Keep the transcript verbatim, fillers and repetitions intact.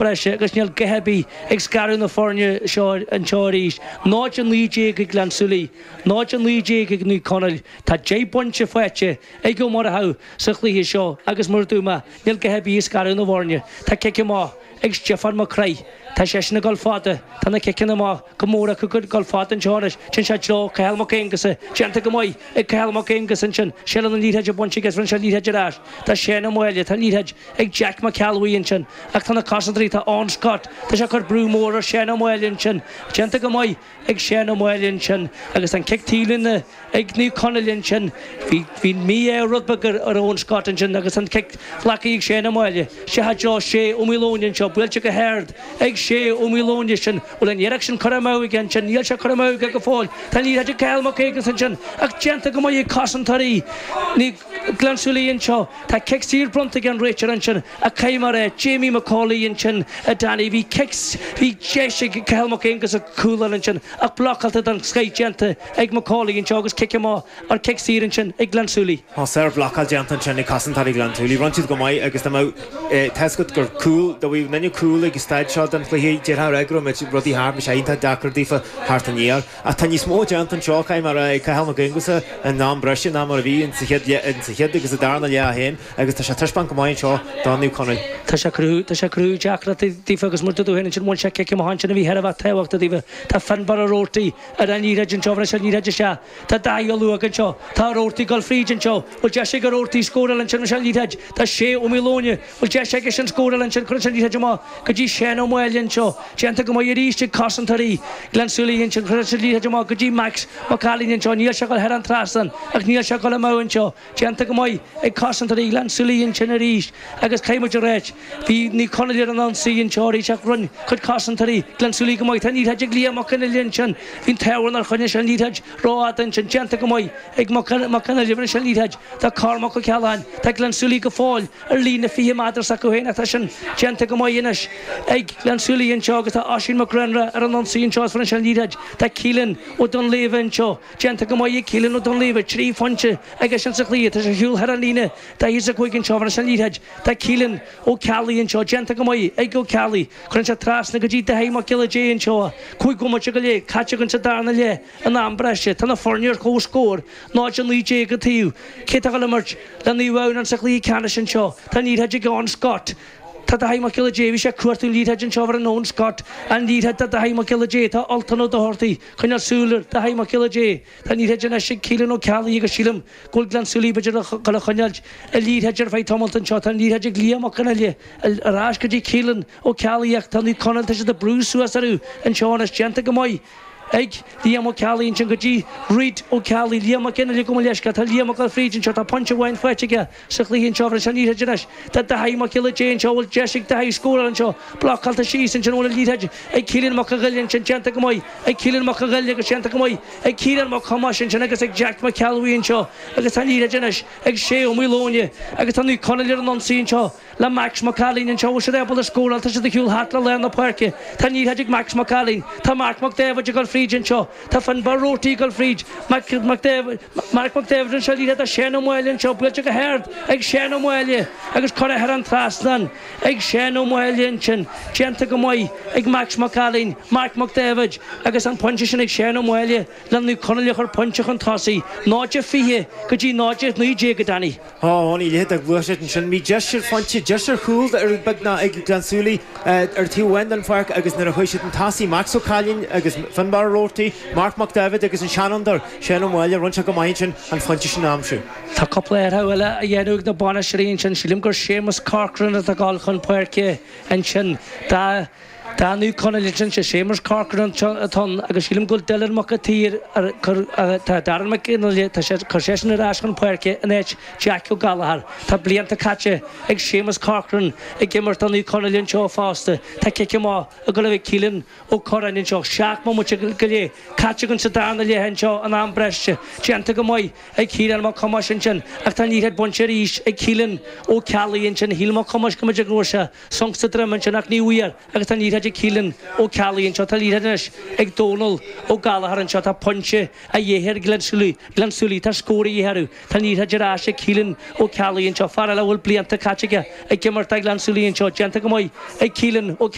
Breise agus níl a dhath ar bith ag scaradh na foirne seo anseo arís. Náid a naoi déag ag Gleann tSúilí, náid a naoi déag ag Naomh Conaill. Tá deich bpointe faighte ag Ó Murchú sa chluiche seo agus mar a dúirt mé, níl a dhath ar bith ag scaradh na bhfoirne. Tá cic amach ag Stiofán Mac Craith. Tá seisean ag dul fada. Tá na ciceanna amach go mór acu ag dul fada anseo anois. Téann sé i dtreo Cathal Mac Aonghusa. Déanta go maith ag Cathal Mac Aonghusa ansin. Seilbh na liathróide bainte aige is rinne sé an liathróid ar ais. Tá Seán Ó Máille. Tá an liathróid ag Jack Mac Ceallbhuí ansin. Ach tá na cosantóirí, tá Eoin Scott, tá sé ag cur brú mór ar Sheán Ó Máille ansin. Déanta go maith ag Seán Ó Máille ansin. Agus an cic taobhlíne ag Naomh Conaill ansin. Bhí bhí mí-ádh rud beag ar Eoin Scott ansin agus an cic glactha ag Seán Ó Máille. Isteach i dtreo Shea Ó Maoileoin anseo, buailte go hard ag Shea Ó Maoileoin sin. Bhfuil an iarracht sin curtha amú aige ansin? Níl sé curtha amú aige go fóill. Tá an liathróid ag Cathal Mac Aonghusa ansin ach déanta go maith ag cosantóirí Ghleann tSúilí anseo. Tá cic saor bronnta ag an réiteoir ansin ach caithfidh mé a rá, Jamie McCauley ansin, a Danny, bhí cic, bhí deis ag Cathal Mac Aonghusa cúl a fháil ansin ach blocáilte den scoith déanta ag McCauley anseo agus cic amach ar cic saor ansin ag Gleann tSúilí. Tá sárbhlocáil déanta ansin ag cosantóirí Ghleann tSúilí. Rinne siad go maith agus tá a fhios agat gur cúl, dá mbeadh duine cúl ag an staid seo den chluiche, déarfá a rá go raibh muid rudaí thart, bhí sé iontach deacair daofa theacht aniar. Ach tá níos mó déanta anseo, caithfidh mé a rá, ag Cathal Mac Aonghusa in am breise ná mar a bhí insa chéad insa chéad agus sa darna leath féin agus tá sé ag taispeáint go maith anseo do Naomh Conaill. Tá sé cruthú, tá sé cruthú deacrachtaí daofa agus mar a dúirt tú féin ansin bhain sé cic amach ansin a bhí thar a bheith tábhachtach daofa. Tá Finbarr Ó Roarty ar an liathróid anseo, bhris an liathróid isteach. Tá Dáithí Ó Luaig anseo. Tá Ó Roarty ag dul fríd anseo. Bhfuil deis ag Ó Roarty scóráil ansin, bhris an liathróid. Tá Shea Ó Maoileoin. Bhfuil deis aige sin scóráil ansin, cuireann sé an liathróid amach go dtí Seán Ó Máille anseo. Déanta go maith arís ag cosantóirí Ghleann tSúilí ansin. Cuireann sé an liathróid amach go dtí Max Mac Ailín anseo. Níl sé ag dul thar an trasnán ach níl sé ag dul amú anseo. Déanta go maith ag cosantóirí Ghleann tSúilí ansin arís agus caithfidh muid a ráit, bhí Naomh Conaill ar an ionsaí anseo arís ach rinne cuid cosantóirí Ghleann tSúilí go maith. Tá an liathróid ag Liam Mac Fhionnghaile ansin. Bhí an t-ádh air nár choinnigh sé an liathróid rófhada ansin. Déanta go maith ag Mac Fhionnghaile. Rinne sé an liathróid do Cormac Ó Cealláin. Tá Gleann tSúilí go fóill ar líne fiche méadar s'acu féin ach tá sin déanta go maith anois ag Gleann tSúilí anseo agus tá Oisín Mac Grianra ar an ionsaí anseo is rinne sé an liathróid do Keelan Ó Donlaoibhe anseo. Déanta go maith ag Keelan Ó Donlaoibhe. Trí phointe aige sin sa chluiche. Tá sé ar shiúl thar an líne daichead is a cúig anseo. Rinne sé an liathróid do Keelan Ó Ceallaigh anseo. Déanta go maith ag Ó Ceallaigh. Cuireann sé trasna go dtí Dáithí Mac Giolla Dé anseo. Cúig bhomaite go leith caite againn sa darna leath in am breise. Tá na foirne ar comhscór, náid a naoi déag an taobh. Cé atá ag dul imirt le Naomh Adhamhnáin sa chluiche ceannais anseo? Tá an liathróid ag Eoin Scott. Tá Dáithí Mac Giolla Dé, bhí sé ag cuartú an liathróid anseo ar an Eoin Scott. An liathróid do Dáithí Mac Giolla Dé. Tá Ultan Ó Dochartaigh. Coinneáil súil ar Dáithí Mac Giolla Dé. Tá an liathróid anois ag Keelan Ó Ceallaigh agus sílim go bhfuil Gleann tSúilí b'fhéidir ag dul a choinneáilt an liathróid ar feadh tamalt anseo. Tá an liathróid ag Liam Mac Fhionnghaile ar ais go dtí Keelan Ó Ceallaigh ach tá Naomh Conaill, tá siad ag brú suas orthu anseo anois. Déanta go maith ag Liam Ó Ceallaigh ansin go dtí Reid Ó Ceallaigh. Liam Mac Fhionnghaile gabh mo leithscéal. Tá Liam ag dul fríd anseo. Tá pointe amháin faighte aige sa chluiche anseo. Bhris an liathróid anois do Dáithí Mac Giolla Dé anseo. Bhfuil deis ag Dáithí scóráil anseo? Blocáilte síos ansin. Bhfuil an liathróid ag Keelan Mac Fhionnghaile ansin? Déanta go maith ag Keelan Mac Fhionnghaile agus déanta go maith ag Ciarán Mac Thomáis ansin agus ag Jack Mac Ceallbhuí anseo. Agus tá an liathróid anois ag Shea Ó Maoileoin agus tá Naomh Conaill ar an ionsaí anseo le Max Mac Ailín anseo. Bhfuil siad ábalta scóráil? Tá siad ag shiúl thart le lár na páirce. Tá an liathróid ag Max Mac Ailín. Tá Marc Mac Daibhéid ag dul fríd anseo. Tá Finbarr Roarty ag dul fríd. Mac Mac Daibhéid Marc Mac Daibhéid anseo. Liathróid do Seán Ó Máille anseo. Buailte go hard ag Seán Ó Máille agus curtha thar an trasnán ag Seán Ó Máille ansin. Déanta go maith ag Max Mac Ailín, Marc Mac Daibhéid agus an pointe sin ag Seán Ó Máille le Naomh Conaill a chur pointe chun tosaigh, náid a fiche go dtí náid a naoi déag, a Danny. Á, ní leithéid de ghluaiseacht ansin. Bhí deis ar phointe, deis ar chúl ar beagnach ag Gleann tSúilí ar taobh amháin den pháirc agus nuair a chuaigh siad chun tosaigh, Max Ó Cailín agus Finbarr Roarty, Marc Mac Daibhéid agus an seanfhondúir, Seán Ó Máille, rinne sé go maith ansin an phointe sin a aimsiú. Tá cúpla athrú eile á dhéanamh ag na bainisteoirí ansin. Sílim gur Séamus Corcoran atá ag dul chun páirce ansin. Do do Naomh Conaill ansin, sé Séamus Corcoran atá ann agus sílim go bhfuil Dylan Mac a' tSaoir ar cur tá Darren Mac Fhionnghaile, tá sé cur seisean ar ais chun páirce in áit Jack Ó Gallchóir. Tá blianta caite ag Séamus Corcoran ag imirt do Naomh Conaill anseo fosta. Tá cic amach ag dul a bheith ag Keelan Ó Curráin anseo. Seacht mbomaite go leith caite againn sa darna leath anseo in am breise. Déanta go maith ag Ciarán Mac Thomáis ansin ach tá an liathróid bainte arís ag Keelan Ó Ceallaigh ansin. Shíl Mac Thomáis go mb'fhéidir go bhfuair sé sonc sa droim ansin ach ní bhfuair agus tá an liathróid liathróid ag Keelan Ó Ceallaigh anseo, tá liathróid anois ag Dónal Ó Gallchóir anseo, tá pointe a dhíth ar Ghleann Súilí, Gleann Súilí, tá scór a dhíth orthu, tá liathróid ar ais ag Keelan Ó Ceallaigh anseo, fear eile a bhfuil blianta caite aige ag imirt do Ghleann Súilí anseo, déanta go maith ag Keelan Ó